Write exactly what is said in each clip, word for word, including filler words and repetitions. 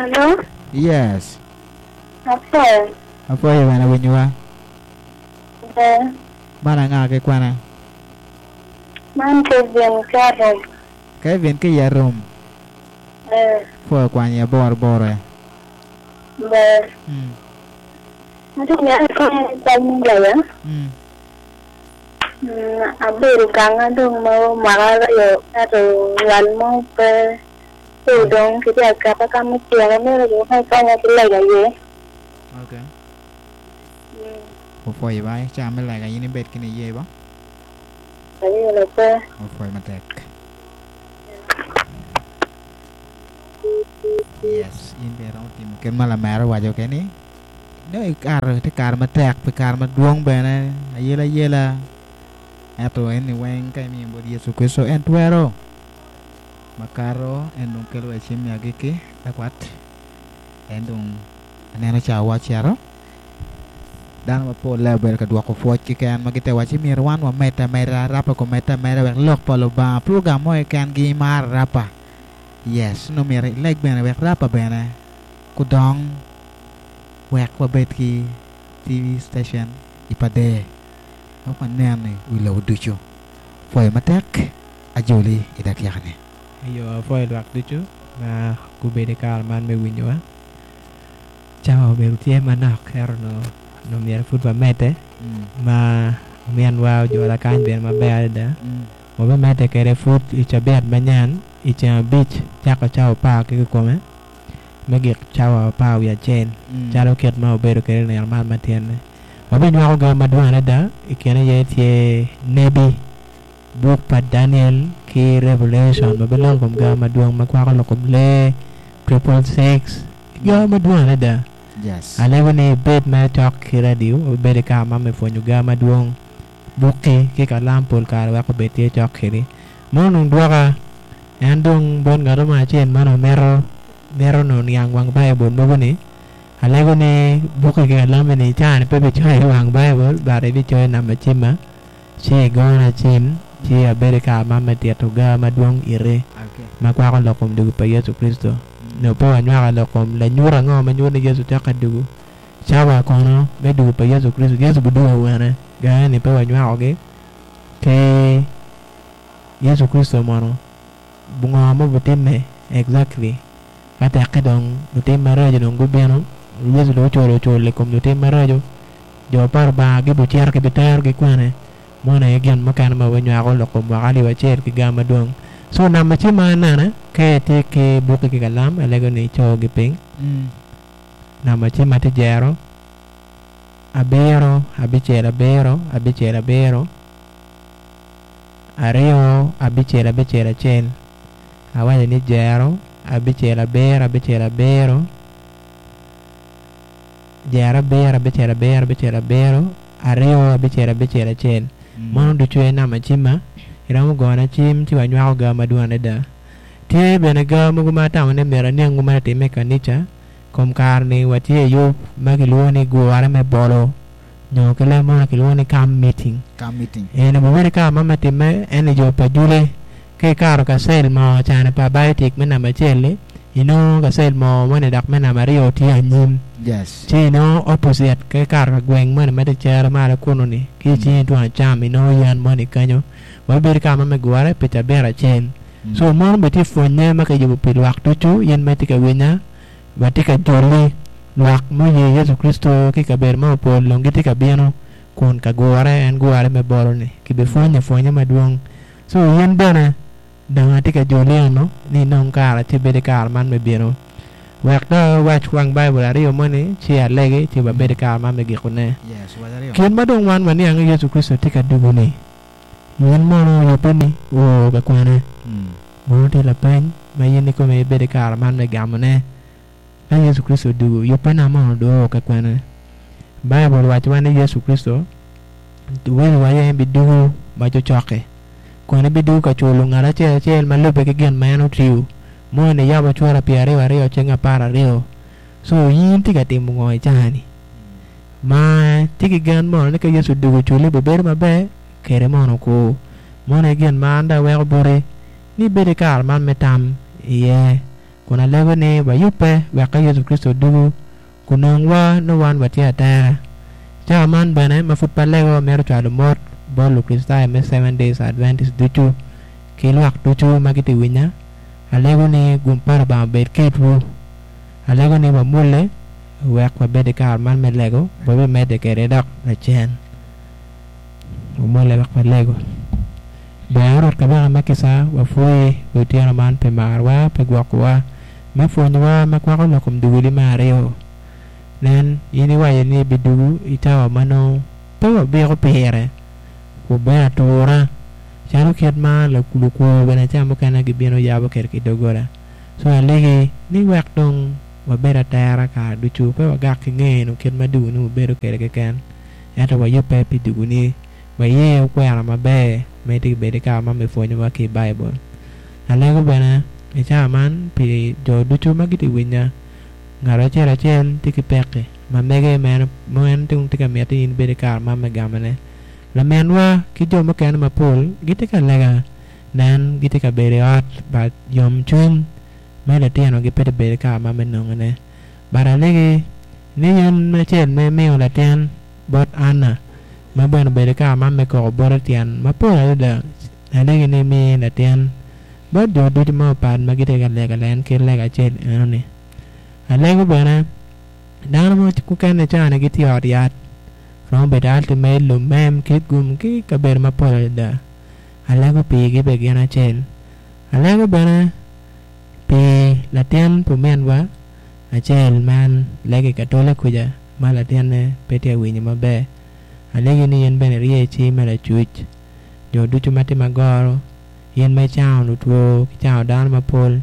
Hello? Yes. Apoyo. Apoyo bene winyowa. Ber. Man anga ki kwana? Man Kevin Karom. Kevin ki Yarom. Eh, Pwoyo kwanyo ya boro boro e. ber. Mm. Ati nyal konyo kwanyo gaya. Mm. Mm, abedo kanga dong ma mwaka aryo ento nywal mo pe pe odong kitye aketa ka me tyene mere jo ka ikonya ki lega iye. Okay. Mm, Opwoyo ba ca me lega in ibed kini iye ba. ayelo pe. Opwoyo matek. Yes, in bene romo timo kit ma lamera owaco keni. No ikaro tye kare matek pi kare madwong bene ayela ayela. Ento en ni weng ka imiyo bot Yecu Kristo en twero. Makato en dong kelo wa cim me agikki lakwat. En dong aneno ca wa ocito. Dano mapol le obedo ka dwoko pwoc keken ma gite waci myero wan wamedde ameda rapa komedde ameda wek lok pa Lubanga program mo keken gimaro rapa. Yes, no myero ileg bene wek rapa bene kudong wek wabed ki T V station i Pader. Wek wanen i wi lobo ducu. Pwoyo matek ajoli i dakika-ni. Eyo apwoyo lwak ducu ma gubedo i kare man me winyowa. Cawa obedo tye manok ento no, no myero pud wamedde. Mm. Ma ominwa ojola kany bene maber adada. Mm. Wabimedde kede pud i cabit manyen i ceng abic cako cawa apar ki kikome me gik cawa apar wiye acel. Mm. Calo kit ma obedo kede nino man matin-ni. Wabinywako ga madwong adada i kine aye tye nebi buk pa Daniel ki Revelation ma biloko kom ga madwong ma kwako loko kom lee triple six ga madwong adada. Yes. Alego ni ibed ma cok ki radio, ibed i kare ma me pwonyo ga madwong bukki ki kalam pol kare wek obed tye cok kedi. Mono dong dwoka en dong bot ng'ato mo acel ma nongo mito, mito nongo niang wang Baibul mogo ni alego ni bukki ki kalammi ni cani pe bicoyo i wang Baibul but ibicoyo namba cimma ci igona cim ci abedo i kare ma me tito ga madwong iri Okay. ma kwako lok kom dugu pa Yecu Kristo. Mm. No pe wanywako lok kom lanyut ango ma nyuto ni Yecu cok ka dugu. Cawa kono me dugu pa Yecu Kristo, Yecu bidugo wene ga ni pe wanywakogi ke Yecu Kristo mono ngo ma obitimme exactly ka tekke dong lutim maraco dong gubino Yecu dong oculo ocul i kom lutim maraco jo pa Lubanga gibicito gibiterogi kwene mono aye gin mukene ma wanywako lok kom mwaka alip acel ki ga madwong. So namba cim ma anene ka itye ki bukki ki kalam alego ni icogi piny. Mm. Namba cim ma tye jero abiro abicel abiro abicel abiro aryo abicel abicel acel awaco ni jero abicel abiro abicel abiro jero abiro abicel abiro abicel abiro aryo abicel abicel acel. Mm. Mono ducu aye namba cimma iromo gona cim ci wanywako ga madwong adada. Tye bene ga mogo ma atamo ni myero aniangu ma timme i kanica kom kare ni watye i yub ma kilwongo ni gure me bolo nyo ki leb mono kilwongo ni camp meeting. Camp meeting. En obedo kare ma me timme en i jo pa jule ki ikaro kacel mo cane pa biotic me namba acel-li inongo kacel mo moni dok me namba aryo tye anyim. Yes. Ci inongo opposite ki ikaro ka gweng moni ma tye cere malo kunu ni ki Mm. cingi tung acam inongo yen moni kanyo wabedo kare ma me gure pi cabit acel. Mm. So mono bene tye pwonye ma kiyubo pi lwak ducu in ma itye ka winya watye ka joli lwak muye Yecu Kristo ki kabedo ma opol dong gitye ka bino kun ka gure en gure me bolo ni kibipwonyo pwonye madwong. So in bene dong atye ka joli eno ni inong kare ci ibed i kare man me bino wek dong awac wang Baibul aryo moni ci alegi ci wabed i kare man me gikone. Yes, wac aryo. Kit ma dong wan waniang ni Yecu Kristo tye ka dugu ni in mono oyubbe ni oo ka kwene. Mm. Mono tye lapeny ma in ikome ibed i kare man me gamone. Ka Yecu Kristo odugu yubbe na mono dong oo ka kwene. Baibul wacowa ni Yecu Kristo welo wa en bidugu ma cocoki kun ebidugu ka culo ngat acel acel ma lubbe ki gin ma en otiyo moni yabo cura pyeraryo aryo ceng apar aryo. So in tye ka timo ngo i cani ma tye ki gen mono ni ka Yecu odugu oculi bibedo maber kede mono ku mono aye gin ma an dong aweko boti ni ibed i kare man me tam iye. Kun alego ni wayubbe wek ka Yecu Kricito dugu kunongwa no wan watye atera. Cawa man bene ma pud pe alego mito cwalo mot bot Lukricitayo me Seven Days Adventist ducu ki lwak ducu ma gitye winya. Alego ni gum pa Lubanga obed kedwu. Alego ni wamulle wek wabed i kare man me lego wabimedde kede dok lacen. Wamulle wek walego. Ber Rwot kabaka me kisa wapwoyi wi otyeno man pi marwa pi gwokowa me pwonyowa ma kwako lok kom duguli me aryo. Nen in iwaco ni ibidugu i cawa ma nongo pe wabiko pire wabedo atura calo kit ma lukwo bene ca mukene gibino yabo kede ki doggola. So alegi ni wek dong wabed atera kare ducu pe wagak ki ngeno kit ma duguni obedo kede keken ento wayubbe pi duguni waye okwena maber ma itye bedo i kare man me pwonyowa ki i Baibul. Alego bene i cawa man pi jo ducu ma gitye winya ngat acel acel tye ki peki ma mege ma en tye ka miti in ibed i kare man me gamone. Laminwa ki jo mukene mapol gitye ka lega nen gitye ka bedo i ot ba yomcwiny me litinogi pe tye bedo i kare man me nongone. But alegi ni in acel ma imiyo latin bot Anna ma bene obedo i kare man me koko bote tyen mapol adada alegi ni imi latin bot jo ducu ma opat ma gitye ka lega len ki lega acel enoni. Alego bene dano mukene cani gitye i ot yat romo bedo Ultimate, Lumem, Kitgum ki kabedo mapol adada. Alego pigi bene gin acel. Alego bene pi latin pa ominwa acel man lego i Katoli kuca ma latinne pe tye ka winyo maber. Alegi ni in bene irye cing me lacuc jo ducu ma tye magoro in ma icango lutwo ki cango dano mapol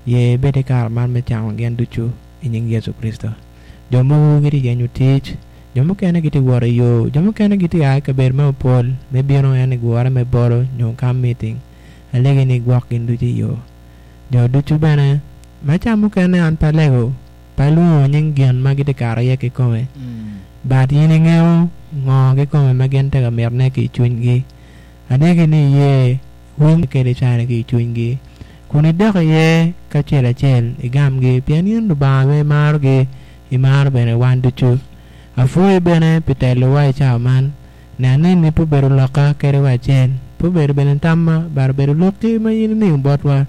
ye ibed i kare man me cango gin ducu i nying Yecu Kricito. Jo mogo gitye yenyo tic, jo mukene gitye wot i yo, jo mukene gitye a i kabedo mapol me bino en i gure me bolo nyo camp meeting. Alegi ni igwok gin ducu i yo. Jo ducu bene ma ca mukene an pe alego pe alwongo nying gin ma gitye kato iye kikome. But in ingeo ngo kikome ma gin tye ka mitone ki i cwinygi. Alegi ni iye winy kede cani ki i cwinygi. Kun idok iye kacel acel igamgi pien in Lubanga ma imarogi imaro bene wan ducu. Apwoyi bene pi telowa i cawa man. Nen ni pe obedo lokka kede wa acel pe obedo bene tamma but obedo lokki ma in imiyo botwa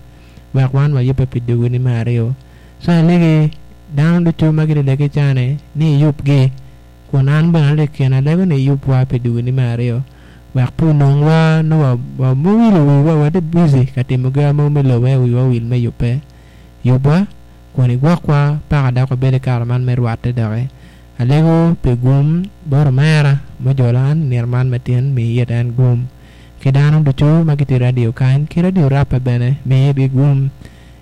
wek wan wayubbe pi duguni me aryo. So alegi dano ducu ma gitye legi cani ni iyubgi kun an bene atye i kine alego ni iyubwa pi duguni me aryo wek pe onongwa nongo wawilo wiwa watye busy ka timo gin mo me lobo ento wiwa owil me yubbe. Yubwa kun igwokwa paka dok wabed i kare man me rwatte doki. Alego pi gum bot omera mujolo an nino man matin mi it en gum. Ki dano ducu ma gitye i radio kany ki radio Rapa bene mi itgi gum.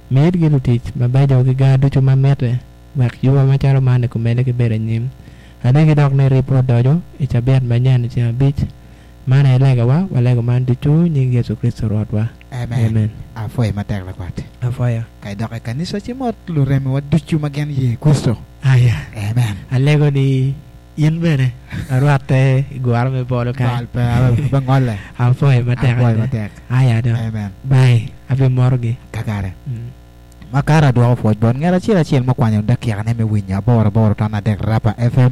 Mi itgi lutic mabeco ki gar ducu ma mitte wek yuba macalo man okomedde ki bedo anyim. Alegi dok ni ribwa odoco i cabit manyen i ceng abic. Man aye legawa walego man ducu nying Yecu Kricito Rwotwa. Amen. Amen. Apwoyi matek lakwat. Apwoyo. Ka idok i kanisa ci mot luremiwa ducu ma gin ye Kricito. Aya. Amen. Alego ni in bene arwatte i gure me bolo kany. Bal pe pe ngole. Apwoyo matek. Apwoyi matek. Aya do. Amen. Bye. Abimorogi. Kakare. Mm. Makara adwoko pwoc bot ngat acel acel mukwanyo dakikane me winyo aboro aboro ton adek Rapa F M.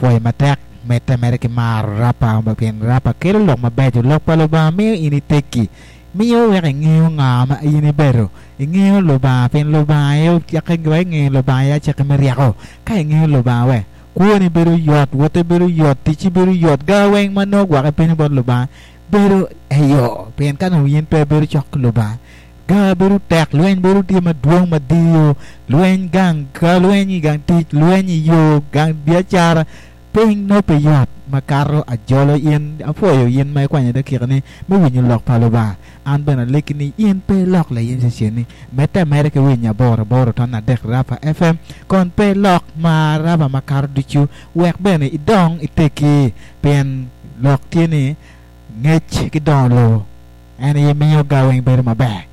Pwoyo matek medde mere ki maro Rapa pien Rapa kelo lok mabeco lok pa Lubanga miyo in iteggi miyo wek ingeo nga ma in ibedo ingeo Lubanga pien Lubanga aye ocike wa ingeo Lubanga aye acike me ryeko ka ingeo Lubanga we kwoni bedo yot wotte bedo yot ticci bedo yot ga weng ma nongo gwoki piny bot Lubanga bedo eyo pien ka nongo in pe ibedo cok ki Lubanga ga bedo tek lweny bedo tye madwong madiyo lweny gang ka lweny i gang tic lweny i yo gang biacara piny nongo pe yot makato ajolo in apwoyo in ma ikwanyo dakikani me winyo lok pa Lubanga an bene alegi ni in pe ilok lain ceceni medde ameda ki winyo aboro aboro ton adek Rapa F M kon pe ilok ma Rapa makato ducu wek bene idong iteggi pien lok tye ni ngec ki dongo lobo en aye miyo ga weng bedo maber.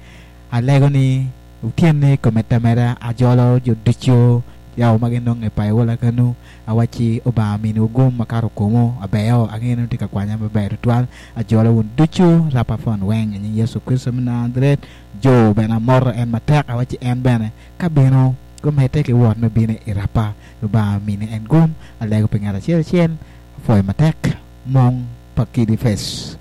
Alego ni otyeni komedde ameda ajolo jo ducu Yaw ma ginonge Payola kanu awaci Obanga miniwu gum makato komo abeo angeno tye ka kwanya maber tutwal ajolo wun ducu rapa fon weng i nying Yecu Kricito me Najaret jo bene amoto en matek awaci en bene ka bino gumedde ki wot me bino i rapa Lubanga mini en gum alego pi ngat acel acel apwoyo matek mung pa Kidi Face.